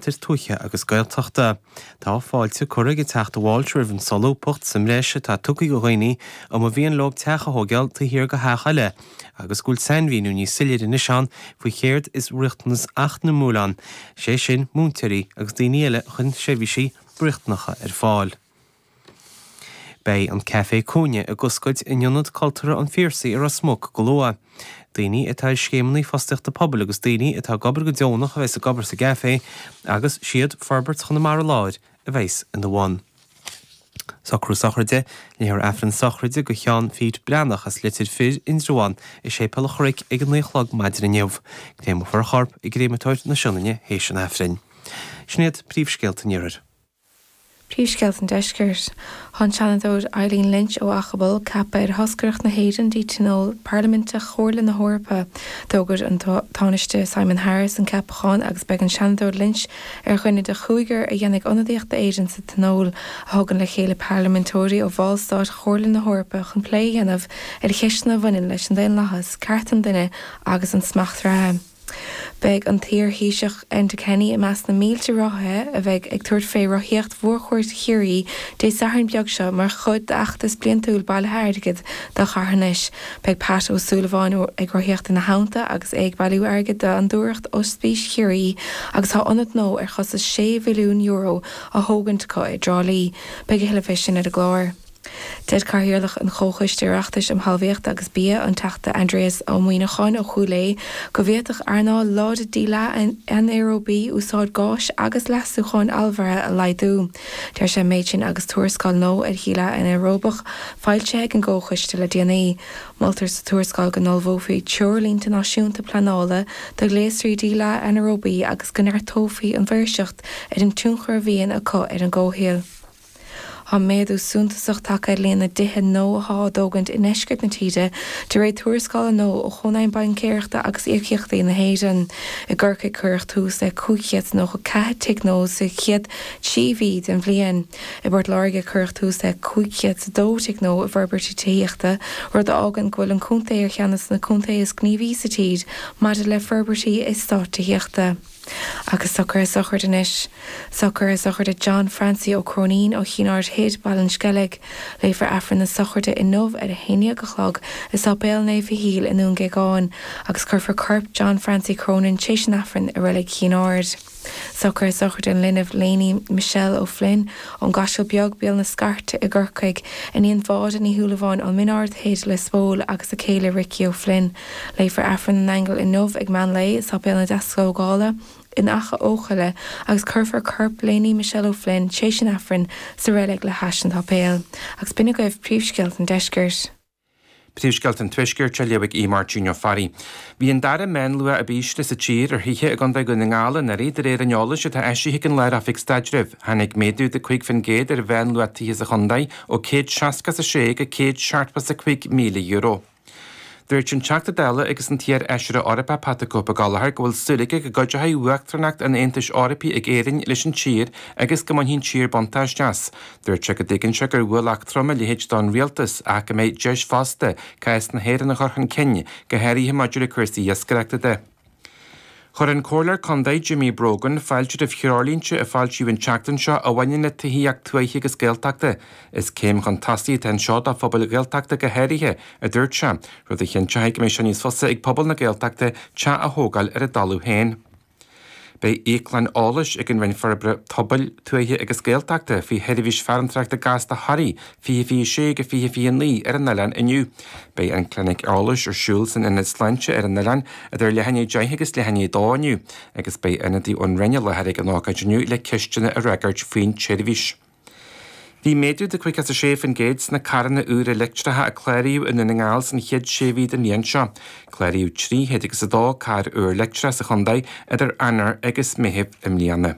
Ceantair Tuaithe agus Gaeltachta. Tá fáilte curtha ag an Teachta Walsh roimh an solúbthacht sa mbreis atá tugtha do dhaoine a mba mhian leo teach a thóigeáil taobh thiar de theach eile agus go bhfuil sainmhíniú níos soiléire anois ann faoi chéard is riachtanas eacnamúil ann, sé sin múinteoirí agus daoine eile a chuireann seirbhísí riachtanacha ar fáil. Beidh an Caifé Cúinne ag oscailt in Ionad Cultúrtha an Phiarsaigh i Ros Muc go luath. Daoine atá ar scéimeanna fostaíochta pobail agus daoine atá ag obair go deonach a bheas ag obair sa gcaifé agus siad Forbairt Chonamara Láir a bheas ina bhun. Socrú sochraide, Léifear Aifreann sochraide do Sheán Phete Breathnach as Leitir Fir, Indreabhán, i Séipéal an Chnoic ag a 9 a chlog maidin inniu. Créamfar a chorp i gCréamatóir na Sionainne théis an Aifrinn. Sin iad príomhscéalta an Iarthair. Príomhscéalta an Deiscirt. Tá an Seanadóir Eileen Lynch ó Achabal ceaptha ar thoscaireacht na hÉireann dtí Tionól Parlaiminteach Chomhairle na hEorpa. D'fhógair an Tánaiste Simon Harris an ceapachán agus beidh an Seanadóir Lynch ar dhuine de chúigear a dhéanfaidh ionadaíocht d'Éirinn sa Tionól, a thugann le chéile parlaiminteoirí ó bhallstáit Chomhairle na hEorpa chun plé a dhéanamh ar cheisteanna a bhaineann leis an daonlathas, cearta an duine agus an smacht reatha. Beidh an t-iar-Thaoiseach Enda Kenny i measc na mílte rothaithe a bheidh ag tabhairt fé rothaíocht mhórchuaird Chiarraí Dé Sathairn beag seo mar chuid d'fheachtas bliantúil bailithe airgid do charthanais. Beidh Pat Ó Súilleabháin ag rothaíocht ina theannta agus é ag bailiú airgid d'Fhondúireacht Ospís Chiarraí agus tá ionad nua ar chostas €6 mhilliún á thógaint acu i dTrá Lí. Beidh a thuilleadh fé sin ar an gclár. Deir Cathaoirleach an Chomhchoiste Oireachtais um Thalmhaíocht agus Bia, an Teachta Aindrias Ó Muimhneacháin ó Chúil Aodha, go bhféadfadh earnáil láidir díleá anaeróbaí úsáid gáis agus leasúcháin allmhairithe a laghdú. Deir sé an méid sin agus tuarascáil nua ar dhíleá anaeróbach foilsithe ag an gComhchoiste le déanaí. Moltar sa tuarascáil go n-ullmhófaí treoirlínte náisiúnta pleanála do ghléasraí díleá anaeróbaí agus go neartófaí an mhaoirseacht ar an tionchar a bhíonn acu ar an gcomhshaol. Tá méadú suntasach tagtha ar líon na dtithe nua atá á dtógaint i ndeisceart na tíre, de réir tuarascála nua ó Chónaidhm Baincéireachta agus Íocaíochtaí na hÉireann. I gCorcaigh cuireadh tús le 594 tigh nua sa chéad 3 mhí den bhliain. I bPort Láirge cuireadh tús le 502 tigh nua i bhforbairtí tithíochta, rud a fhágann go bhfuil an contae ar cheann de na contaetha is gníomhaí sa tír maidir le forbairtí eastáit tithíochta. Agus socruithe sochraide anois. Socruithe sochraide John Francie Ó Cróinín ó Chinn Aird Thoir, Baile an Sceilg. Léifear Aifreann na sochraide inniu ar a 11 a chlog i Sáipéal Naomh Mhichíl i nDún Géagáin agus cuirfear corp John Francie Cronin tréis an Aifrinn i Reilig Chinn Aird. Socruithe sochraide an linbh Léiní Michelle O'Flynn ón gCaiseal Beag, Béal na Scairte i gCorcaigh, iníon Mháire Ní Shúilleabháin ón Min Ard Thoir, Lios Póil agus a céile Ricky O'Flynn. Léifear Aifreann na nAingeal inniu ag meán lae i Sáipéal na Deastógála in Achadh Eochaille agus cuirfear corp Léiní Michelle O'Flynn tréis an Aifrinn sa reilig le hais an tsáipéil. Agus b'in agaibh príomhscéalta an deiscirt. Príomhscéalta an Tuaiscirt á léamh ag Aodh Máirtín Ó Fearraigh. Bhí an dara meánluach ab ísle sa tír ar thithe i gContae Dhún na nGall anuraidh de réir an eolais atá eisithe ag an Lár-Oifig Staidrimh. Tháinig méadú de 5% ar mheánluach tithe sa chontae ó €166 go €175,000. Dúirt an Teachta Dála agus an t-iar-fheisire Eorpach Pat the Cope Gallagher go bhfuil súil aige go gcuideoidh Uachtaránacht an Aontais Eorpaigh ag Éirinn leis an tír agus go mbainfidh an tír buntáiste as. Dúirt sé go dtuigeann sé gur ualach trom a leithéid don rialtas ach go mbeidh deis fosta cás na hÉireann a chur chun cinn, go háirithe maidir le cúrsaí iascaireachta de. Chuir an Comhairleoir Contae Jimmy Brogan fáilte roimh threoirlínte a foilsíodh an tseachtain seo a bhaineann le tithíocht tuaithe agus Gaeltachta. Is céim chun tosaigh atá anseo do phobail Ghaeltachta go háirithe, a dúirt sé, rud a chinnteoidh go mbeidh sé níos fusa ag pobal na Gaeltachta teach a thógáil ar a dtalamh féin. Beidh íoclann eolais ag an Roinn Forbartha Pobail, Tuaithe agus Gaeltachta faoi sheirbhís farantóireachta gasta Thoraí 2026-2029 ar an oileán inniu. Beidh an clinic eolais ar siúl san Ionad Sláinte ar an oileán idir leath i ndiaidh 10 agus leath i ndiaidh 2 inniu agus beidh ionadaí ón Roinn i láthair ag an ócáid inniu le ceisteanna a fhreagairt faoin tseirbhís. Bhí méadú de 56% sna carranna úra leictreacha a cláraíodh i nDún na nGall san chéad sé mhí den bhliain seo. Cláraíodh 302 carr úr leictreach sa chontae idir Eanáir agus Meitheamh i mbliana.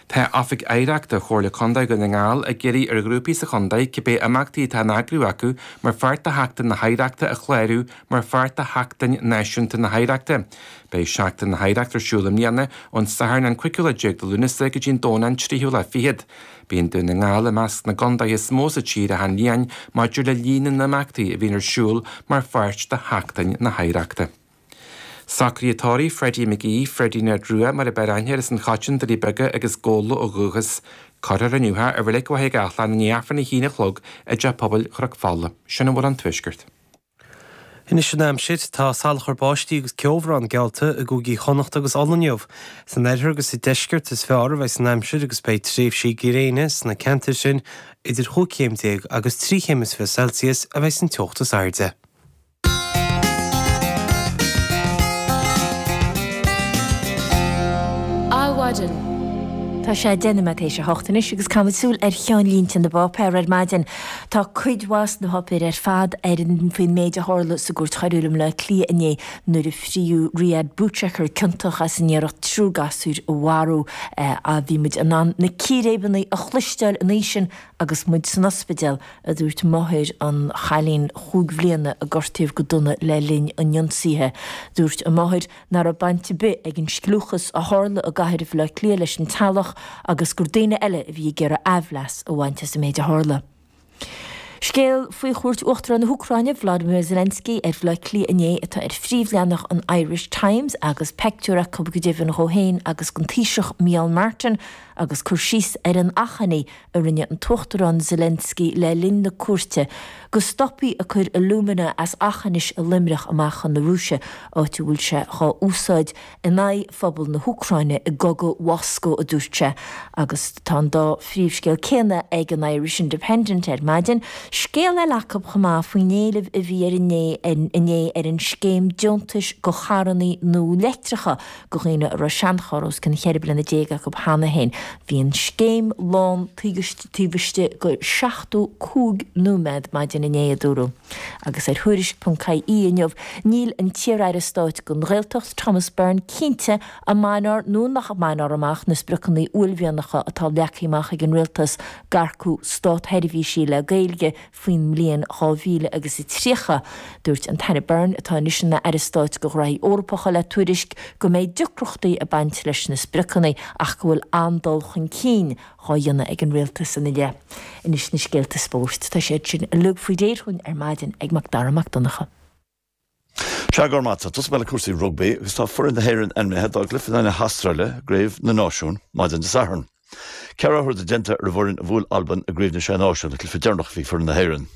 Tá Oifig Oidhreachta Chomhairle Contae Dhún na nGall ag iarraidh ar ghrúpaí sa chontae cibé imeachtaí atá á n-eagrú acu mar pháirt de Sheachtain na hOidhreachta a chlárú mar pháirt de Sheachtain Náisiúnta na hOidhreachta. Beidh Seachtain na hOidhreachta ar siúl i mbliana ón Satharn an cúigiú lá déag de Lúnasa go dtí an Domhnach an tríú lá fichead. Bíonn Dún na nGall i measc na gcontaetha is mó sa tír achan bhliain maidir le líon na n-imeachtaí a bhíonn ar siúl mar pháirt de Sheachtain na hOidhreachta. Socruithe tórraimh Freddie McGee, Freddie Ned Rua mar a b'fhearr aithne air as an Choiteann, Doirí Beaga agus Gabhla ó dhúchas. Cuirfear inniu é i Reilig Mhachaire Gathlán i ndiaidh Aifreann a haon a chlog i dTeach Pobail Chnoc Fola. Sin a bhfuil ón Tuaisceart. Anois an aimsir. Tá salachar báistí agus ceobhrán geallta i gcúigí Chonnacht agus Uladh inniu. San oirthear agus sa deisceart is fearr a bheidh an aimsir agus beidh tréimhsí gréine sna ceantair sin. Idir chúig chéim déag agus trí chéim is 20 Celsius a bheidh an teocht is airde. Adhmhaidin. Tá sé 10 nóiméad théis a hocht anois agus caithfimid súil ar cheannlínte na bpáipéar ar maidin. Tá cuid mhaith sna páipéir ar fad ar an faoin méid a tharla sa gCúirt Choiriúil i mBleá Cliath inné nuair a fríodh Riyad Bouchaker ciontach as an iarracht triúr gasúir a mharú. Bhí muid in ann na círéibeanna a chloisteáil an oíche sin agus muid san ospidéal, a dúirt máthair an chailín chúig bhliana a gortaíodh go dona le linn an ionsaithe. Dúirt an mháthair nach raibh baint ar bith ag an scliúchas a tharla i gcathair Bhaile Átha Cliath leis an teaghlach agus gur daoine eile a bhí ag iarraidh aimhleas a bhaint as an méid a tharla. Scéal faoi chuairt Uachtarán na hÚcráine, Volodymyr Zelensky, ar Bhaile Átha Cliath inné atá ar phríomhleathanach an Irish Times agus peictiúr acu go deimhin dhó féin agus den Taoiseach Micheál Martin agus cur síos ar an achainí a rinne an tUachtarán Zelensky le linn na cuairte go stopfaí ag cur alumina as Aughinish i Luimneach amach chun na Rúise, áit a bhfuil sé dhá úsáid in aghaidh phobal na hÚcráine i gcogadh Mhoscó, a dúirt sé. Agus tá an dá phríomhscéal céanna ag an Irish Independent ar maidin. Scéal eile acu chomh maith faoin éileamh a bhí ar inné ar an scéim deontais go charrannaí nua leictreacha go dhaoine a raibh seancharr os cionn cheithre bliana déag acu cheana féin. Bhí an scéim lán taobh istigh de 75 nóiméad maidin inné, a dúradh. Agus ar Thuairisc ponc ie inniu, níl an t-iar-aire stáit don Ghaeltacht, Thomas Byrne, cinnte an mbainfear nó nach mbainfear amach na spriocanna uaillmhianacha atá leagtha amach ag an Rialtas d'earcú státsheirbhísí le Gaeilge faoin mbliain 2000 agus 30. Dúirt an tAire Byrne, atá anois ina Aire Stáit do Ghraithí Eorpacha, le Tuairisc go mbeidh deacrachtaí ag baint leis na spriocanna ach go bhfuil an-dul chun cinn dhá dhéanamh ag an Rialtas ina leith. Anois na scéalta spóirt. Tá siad sin uilig faoi réir dhúinn ar maidin ag Mac Dara Mac Donncha. Sea, go raibh maith agat. Tosóidh mé le cúrsaí rugbaí agus tá foireann na hÉireann ainmnithe dá gcluiche in aghaidh na hAstráile i gCraobh na Náisiún maidin Dé Sathairn. Ceithre athrú atá déanta ar an bhfoireann a bhuail Albain i gCraobh na Sé Náisiún, an cluiche deireanach a bhí ag foireann na hÉireann.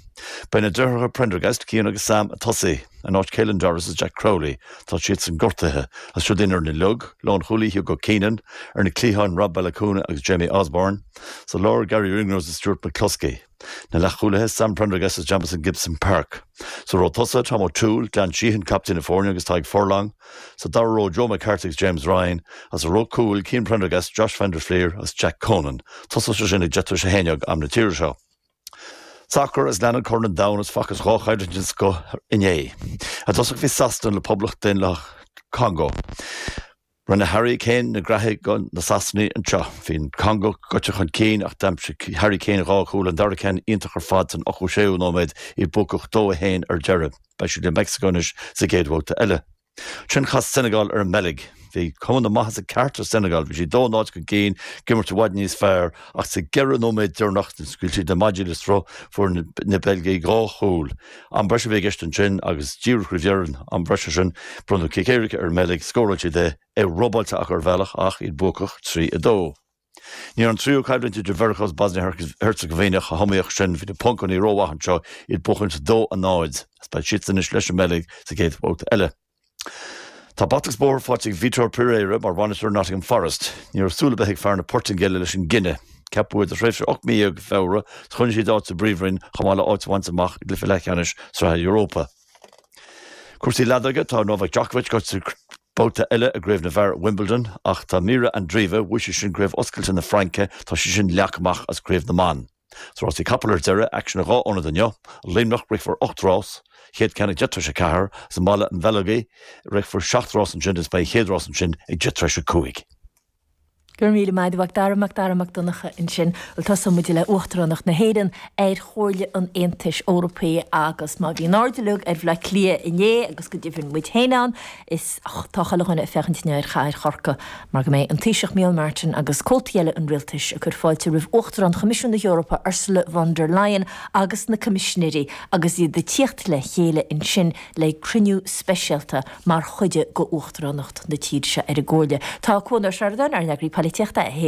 Beidh na deartháireacha Prendergast, Cian agus Sam, ag tosaí. In áit Caelan Doris is Jack Crowley, tá siadsan gortaithe, agus siúd iad ar an uileag, lánchúlaí Hugo Keenan, ar na cliatháin Rob Baloucoune agus Jamie Osborne, sa lár Garry Ringrose is Stuart McCloskey. Na leathchúlaithe, Sam Prendergast is Jamison Gibson-Park. Sa ró tosaithe, Tom O'Toole, Glenn Sheehan, captaen na foirne agus Tadhg Furlong. Sa dara ró, Joe McCarthy agus James Ryan. Agus sa ró cúil, Cian Prendergast, Josh van der Flier agus Jack Conan. Tosóidh sé sin ag deich tar éis a haon dhéag am na tíre seo. Sacar agus leanann Corn an Domhain agus facthas dhá choimhlint den scoth inné. I dtosach bhí Sasana le Poblacht Daonlathach Congo. Rinne Harry Kane na graithí do na Sasanaigh anseo. Bhí an Congo gaibhte chun cinn ach d'aimsigh Harry Kane dhá chúl, an dara ceann iontach ar fad san 86ú nóiméad, iad buacach 2-1 ar deireadh. Beidh siad le Meicsiceo anois sa gcéad bhabhta eile. Ansin chas Senegal ar an mBeilg. Bhí cuma na maitheasa ceart ar Senegal, bhí siad 2-0 chun cinn, ag imirt i bhfad níos fearr ach sa gceithre nóiméad deireanach, scaoil siad na maidí le sruth, fuair na Beilgigh dhá chúl. Am breise a bhí i gceist ansin agus díreach roimh dheireadh an am breise sin, bronnadh cic éirice ar an mBeilg, scóráil siad é, é robáilte acu ar bhealach ach iad buacach 3, 2. Ní raibh an tríú coimhlint idir Mheiriceá agus Bosnia Herzegovina chomh hiomaíoch sin, bhí na Poncánaigh rómhaith anseo, iad buachaint 2, 0 agus beidh siadsan anois leis an mBeilg sa gcéad bhabhta eile. Tá bata agus bóthar faighte ag Vitor Pereira mar bhainisteoir Nottingham Forest. Ní raibh súil ar bith ag fear na Portaingéile leis an gcinneadh. Ceapadh é do thréimhse 18 mí i Feabhra is choinnigh siad áit sa bPríomhroinn chomh maith le áit a bhaint amach i gcluiche leathcheannais Sraithe Europa. Cúrsaí leadóige, tá Novak Djokovic gaibhte babhta eile i gcraobh na bhfear Wimbledon ach tá Mirra Andreeva, bhuaigh sí sin craobh oscailte na Fraince, tá sí sin leagtha amach as craobh na mban. Sna rásaí capall ar deireadh, aicsean i dhá ionad inniu. I Luimneach, rithfear 8 rás, chéad ceann ag deich tar éis a ceathair, agus i mBaile an Bheilgigh, rithfear seacht rás ansin agus beidh an chéad rás ansin ag deich tar éis a cúig. Go raibh míle maith agat, a Mhac Dara, Mac Dara Mac Donncha ansin. Bhuel, tosóidh muid le Uachtaránacht na hÉireann ar Chomhairle an Aontais Eorpaigh agus má bhí an aird uilig ar Bhaile Átha Cliath inné agus go deimhin muid féin ann, is tá chuile dhuine ag féachaint inniu ar chathair Chorcaí mar go mbeidh an Taoiseach Micheál Martin agus comhaltaí eile an rialtais ag cur fáilte roimh Uachtarán Choimisiún na hEorpa Ursula von der Leyen agus na Coimisinéirí agus iad ag tíocht le chéile ansin le cruinniú speisialta mar chuid de Uachtaránacht na tíre seo ar an gComhairle. Tá Cuan Ó Seireadáin, ár n-eagraí polaitíochta, é.